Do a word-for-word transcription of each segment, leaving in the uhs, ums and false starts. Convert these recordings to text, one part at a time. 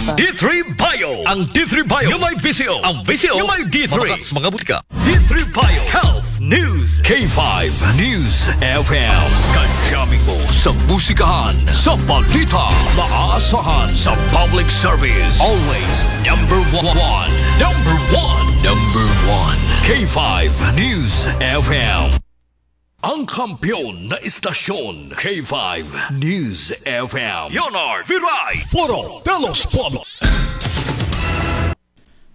D three Bio. Ang D three Bio nga may visyo. Ang visyo nga may D three. Mga, mga butika. D three Bio Health News. K five News F M. Kadyamin mo sa musikahan, sa balita, maasahan sa public service. Always number one. Number one. Number one. K five News F M. Ang kampiyon na istasyon, K five News F M. Leonard Viray. Foro de los Pueblos.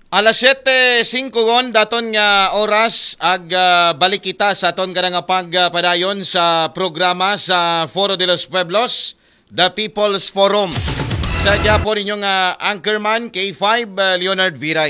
Alas siyete singko gon daton nga oras, ag, ah, balik kita sa aton kada nga pagpadayon sa programa sa Foro de los Pueblos, The People's Forum. Sa gihapon ninyo nga anchorman, K five, ah, Leonard Viray.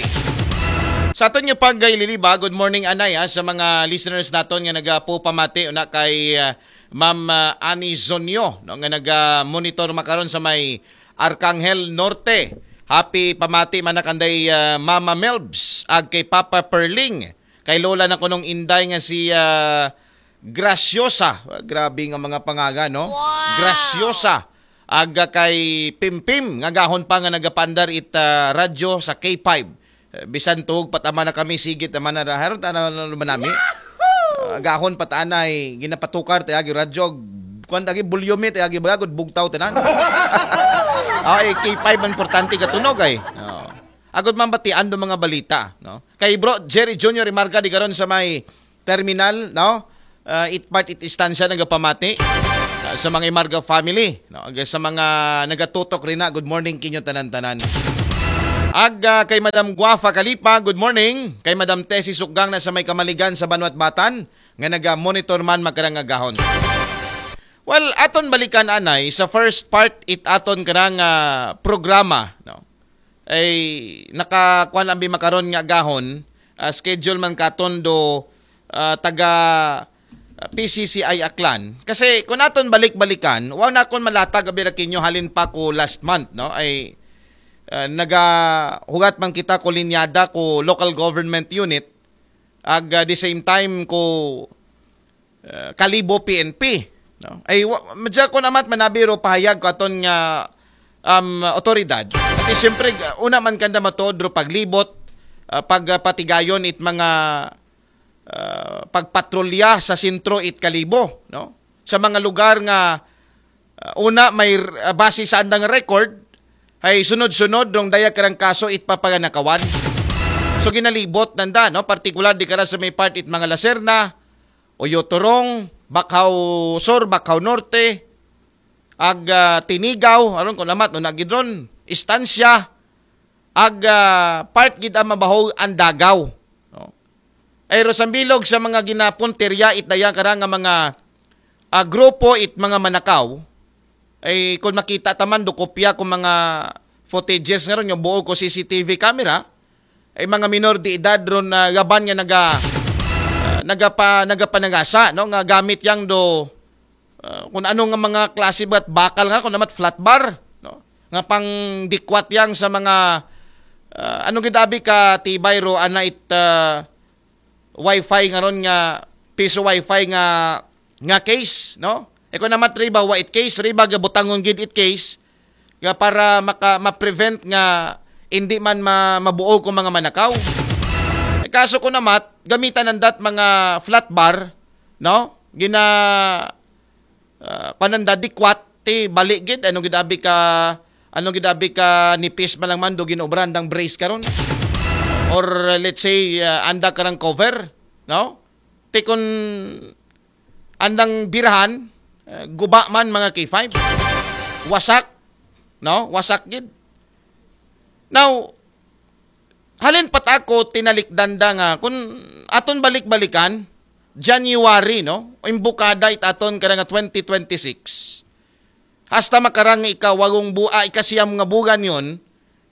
Sa aton nga pagkaililiba, good morning, anay, ah, sa mga listeners naton nga nagapupamati una kay, ah, Ma'am, ah, Annie Zonyo, no, nga naga-monitor makaron sa may Arcangel Norte. Happy pamati man na kanday, ah, Mama Melbs, ag kay Papa Perling, kay Lola na kunong Inday nga si, ah, Graciosa. Ah, grabe nga mga pangalan, no? Wow! Graciosa. Aga kay Pimpim, nga gahon pa nga nagapandar it, ah, radyo sa K five. Eh, bisan tuhog pa tama na kami, sigit naman na haron ta na lumanami. Ah, gahon pa ta anay, ginapatukar ta agi radyo, kuan ta agi volume ta agi bagod bugtaw tanan. Ay, K five man importante katunog ay. Oh. Agod man batian do mga balita, no? Kay Bro Jerry Junior Imarga di karon sa may terminal, no? Ah, it part it istansya nagapamati, ah, sa mga Imarga family, no? Ag sa mga nagatutok rin na, good morning kinyo tanan-tanan. Ag, ah, kay Madam Guafa Kalipa, good morning. Kay Madam Tessie Sukgang na sa may Kamaligan sa Banwat Batan, nga naga-monitor man magkarang agahon. Well, aton balikan anay sa first part it aton karang, ah, programa, no? Ay nakakuan ang bimakaron nga agahon, ah, schedule man katon do, ah, taga, ah, P C C I Aklan. Kasi kung aton balik-balikan, wa na akon malatag abi ra kinyo halin pa ko last month, no? Ay, ah, nagahugat man kita ko linyada ko local government unit, ag, ah, the same time ko, ah, Kalibo P N P, no? Ay wa, madya ko namat manabi ro pahayag ko aton nga, um, otoridad. At siyempre, ah, una man kanda matuod ro paglibot, ah, pagpatigayon it mga, ah, pagpatrolya sa sentro it Kalibo, no? Sa mga lugar nga, ah, una may, ah, base sa andang record, ay sunod-sunod rong daya karang kaso it papaganakawan. So ginalibot nanda, no? Partikular di kara sa may part it mga Lacerna, Oyotorong, Bacau Sur, Bacau Norte, ag, ah, Tinigaw, aron ko namat, no, nagidron, Estancia, ag, ah, part gid ang mabahog ang Dagaw, no? Ay ro sa bilog sa mga ginapuntirya it daya kara nga mga, ah, grupo it mga manakaw, ay kung makita taman do kopya ko mga footages nga ron, yung buo ko C C T V camera, ay mga minor de edad ron na gaban nga naga, ah, nagapa, nagapanagasa, no, nga gamit yang do, ah, kung ano nga mga klase ba't bakal nga, kung namat flat bar, no, nga pang dikwat yang sa mga, ah, ano gid abi ka tibay ro ana it, ah, wifi nga ron nga piso wifi nga, nga case, no? E kung namat riba wa it case, riba gabutangon gid it case nga para maka, ma-prevent nga hindi man ma, mabuo ko mga manakaw. E kaso kung namat gamitan nandat mga flat bar, no? Gina, ah, pananda dikwat ti bali gid, ano gid abi ka, ano gid abi ka nipis man lang man do ginobra andang brace karon. Or, uh, let's say, uh, anda karang cover, no? Ti kun andang birahan, uh, guba man mga K five. Wasak, no? Wasak gid. Now, halin pat ako tinalikdan da nga, kung aton balik-balikan, January, no? Imbukada it aton kada nga twenty twenty-six. Hasta makarang nga ikawagong bu-, ah, ikasiyam nga bugan yon,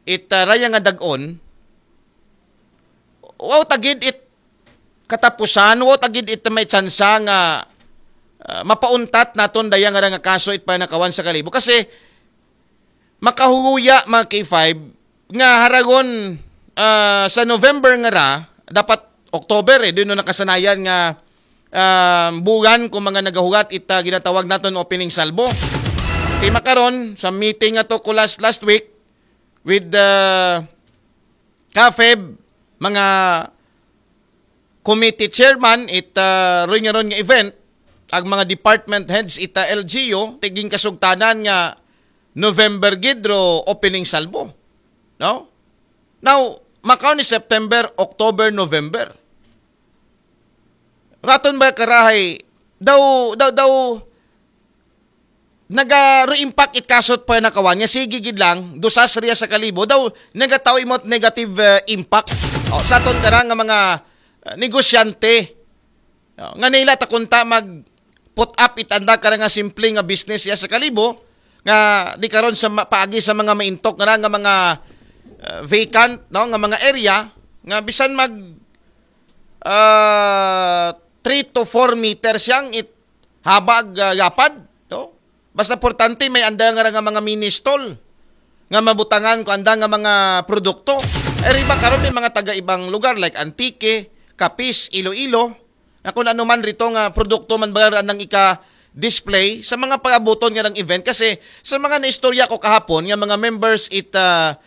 it, ah, raya nga dag-on, wow tagid it katapusan, wow tagid it may tsansa nga, ah, mapauntat naton daya nga ra nga kaso it panakawan sa Kalibo. Kasi, makahuguya, mga K five, nga haragon, ah, sa November nga ra, dapat October, eh, doon nakasanayan nga, ah, bugan kung mga nagahugat ita ginatawag naton opening salvo. Ti makaron, sa meeting nga to ko last, last week, with the CAFEB, mga committee chairman, it uh, ron nga ron nga event, ang mga department heads ita L G U, tiging kasugtanan nga November gid ro opening salvo. No? Now, makaw ni September, October, November. Raton ba karahay, daw, daw, daw, nagaro-impact it kasot pa nakawan nga sige gid lang dusas riya sa kalibo daw nagataw imot negative uh, impact. O, sa aton kara nga mga uh, negosyante, o, nga nila ta kunta mag put up itanda kara nga simple nga business ya sa kalibo nga di karon sa paagi sa mga maintok nga nga mga uh, vacant, no, nga mga area nga bisan mag uh, three to four meters yang it habag uh, yapad, no? Basta importante may anda nga nga mga mini stall nga mabutangan ko anda nga mga produkto. Ay riba karon may mga taga ibang lugar like Antique, Capiz, Iloilo, na kung ano man rito nga produkto man ba anang ika display sa mga pag-abuton nga ng event kasi sa mga naistorya ko kahapon nga mga members it uh,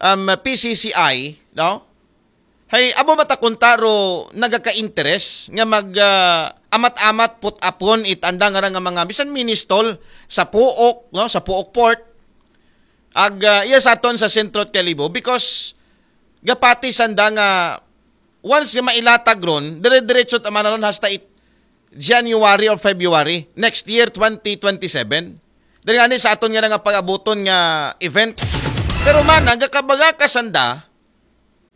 um, P C C I, no? Hay amo matakunta ro nagaka-interes nga mag uh, amat-amat put upon it anda nga nga mga bisan mini stall sa Puok, no, sa Puok Port. Ag uh, iya sa aton sa Centro Calibo because gapati sanda nga once nga mailatag ron, dire-diretso ta man ron hasta it January or February next year twenty twenty-seven. Dahil nga ni sa aton nga nga pag-abuton nga event. Pero man, nagakabaga ka sanda,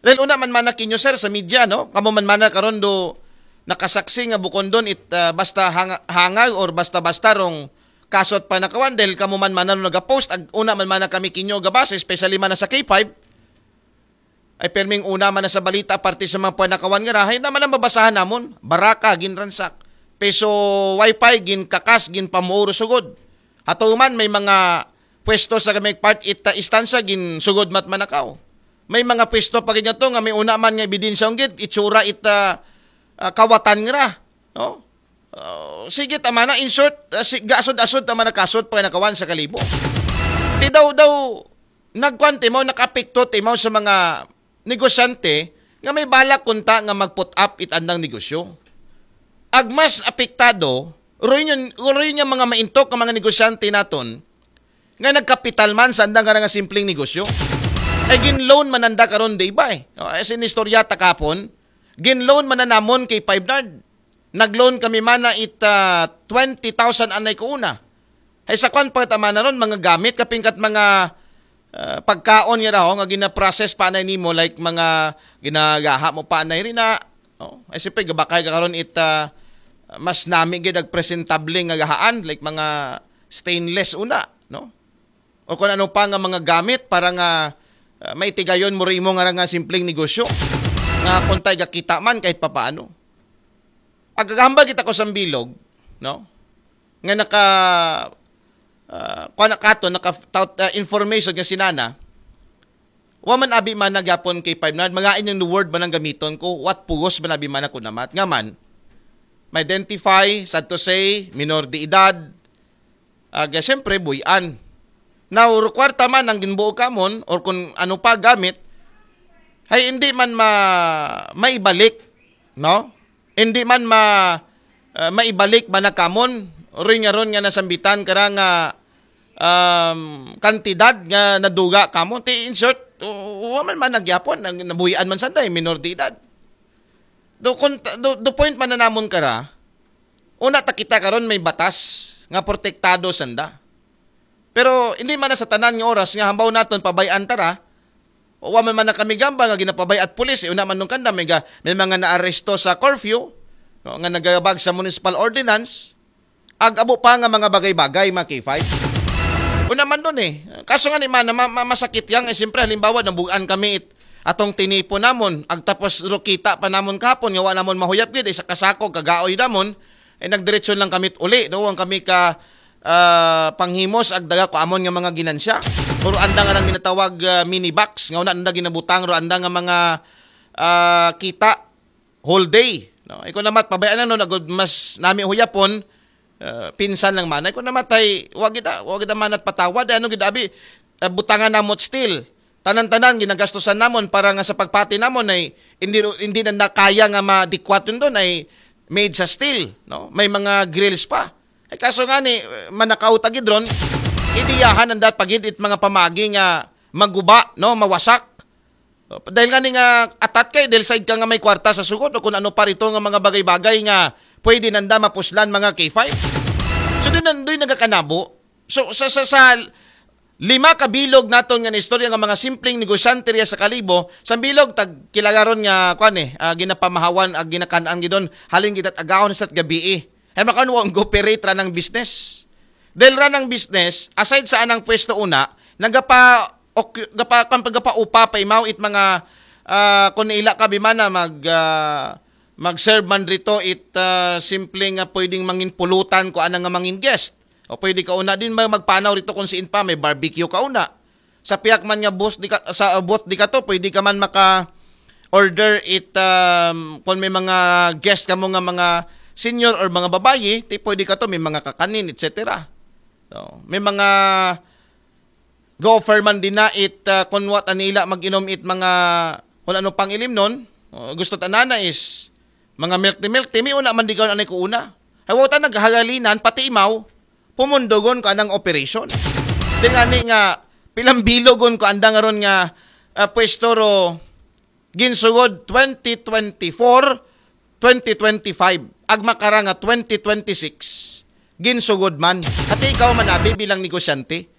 dahil una man mana kinyo, sir, sa media, no? Kamo man mana karon do nakasaksi nga bukon don it uh, basta hang- hangag or basta-basta rong kasot pa nakawan dahil kamo man mana nagapost ag una man mana kami kinyo gabasa especially man sa K five ay perming una man sa balita parte sa mga panakawan nga rahay naman ang babasahan namon baraka ginransak peso wifi gin kakas gin pamuuro sugod ato man may mga pwesto sa may part ita istansa gin sugod mat manakaw may mga pwesto pa gid to nga may una man nga ebidensya unggit itsura ita uh, kawatan nga ra no uh, sige tama na in short uh, si, gasod-asod tama na kasod pa nakawan sa kalibo ti daw daw nagkuan timaw nakapikto timaw sa mga negosyante nga may balak kunta nga mag-put up it andang negosyo ag mas apektado roy nga, roy nga mga maintok nga mga negosyante naton nga nagkapital man sa andang nga simpleng negosyo. Ay gin-loan man anda karon di ba eh. No? As in istorya ta kapon, gin-loan man na namon kay Five Nard. Nag-loan kami mana it uh, twenty thousand anay ko una. Ay sa kwan pa tama na ron, mga gamit, kapingkat mga uh, pagkaon nga raho, nga ginaprocess pa anay nimo, like mga ginagaha mo pa anay rin na, no? Ay siyempre, gabakay ka karon it uh, mas nami gid ag presentable nga gahaan, like mga stainless una, no? O kung ano pa nga mga gamit para nga uh, maitigayon mo rin mo nga nga simpleng negosyo nga kung tayo gakita man kahit papaano. Agagahambal kita ko sa bilog, no? Nga naka uh, kuan kato naka tout, uh, information nga sinana wa man abi man nagyapon kay five na mga inyong word man ang gamiton ko what pugos man abi man ako namat nga man ma-identify sad to say minor de edad aga siyempre buy-an now kwarta man ang ginbuo kamon or kung ano pa gamit ay hindi man ma maibalik no hindi man ma uh, maibalik ba na kamon rin nga ron nga nasambitan kara nga um, kantidad nga naduga kamon ti in short wa man man nagyapon nabuhian man sanday minor de edad do, do, do point man na namon kara una ta kita karon may batas nga protektado sanda pero hindi man na sa tanan nga oras nga hambaw naton pabayan tara wa man man na kami gamba nga ginapabay at pulis eh, una man nung kanda may, ga, may mga naaresto sa curfew no, nga nagabag sa municipal ordinance ag abo pa nga mga bagay-bagay mga K five una man doon eh kaso nga ni man ma, ma, masakit yang eh, siyempre halimbawa nabugaan kami it, atong tinipo namon ag tapos rukita pa namon kahapon nga wa namon mahuyap gid eh, sa kasako kagaoy namon eh nagdiretso lang kami uli doon kami ka uh, panghimos ag daga ko amon nga mga ginansya. Pero anda nga nang ginatawag uh, mini box nga una anda ginabutang ro anda nga mga uh, kita whole day. No? Iko namat pabayaan na no nagud mas nami huyapon uh, pinsan lang manay ko namatay wa gid wa gid manat patawad ano gid abi uh, butangan namot still tanan-tanan ginagastusan namon para nga sa pagpati namon ay hindi, hindi na, na kaya nga madikwat yun doon, ay made sa steel, no? May mga grills pa. Ay kaso nga ni, manakaw ta gid ron, idiyahan ang dat pagid it mga pamagi nga maguba, no? Mawasak. Dahil nga ni nga atat kay, dahil side ka nga may kwarta sa sugod o kung ano pa rito nga mga bagay-bagay nga pwede nanda mapuslan mga K five. So doon, doon nagakanabo. So sa, sa, sa lima ka bilog naton nga istorya nga mga simpleng negosyante riya sa Kalibo, sa bilog tag kilagaron nga kwan eh, ah, ginapamahawan ag ginakanaan gidon halin kita agahon sa gabii. Ay makaon wa ang operate ra ng business. Dahil ra ng business, aside sa anang pwesto una, nagapa ok, gapa kan pagapaupa pa imaw it mga ah, kung ila ka bimana mag ah, mag-serve man rito it ah, simple nga pwedeng mangin pulutan ko ana nga mangin guest. O pwede ka una din ba magpanaw rito kung siin pa may barbecue ka una. Sa piyak man nga booth di ka, sa booth di ka to, pwede ka man maka order it um, kung may mga guest ka mo nga mga senior or mga babayi, ti pwede ka to may mga kakanin, et cetera. So, may mga go-offer man din na it uh, kung what anila mag-inom it mga kung ano pang ilim nun. O, gusto tanana is mga milk tea, milk tea, may una man di ka anay ko una. Hawaw ta naghagalinan, pati imaw, pumundogon ko anang operation. Di nga ni nga, pilambilogon ko andang ron nga uh, pwesto ro ginsugod twenty twenty-four, twenty twenty-five, agmakara nga twenty twenty-six, ginsugod man. Ati ikaw man abi bilang negosyante.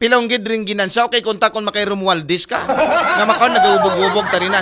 Pilong gid ring ginansya, okay, kung takon makay Romualdez ka. Nga makaw nagubog-ubog tarina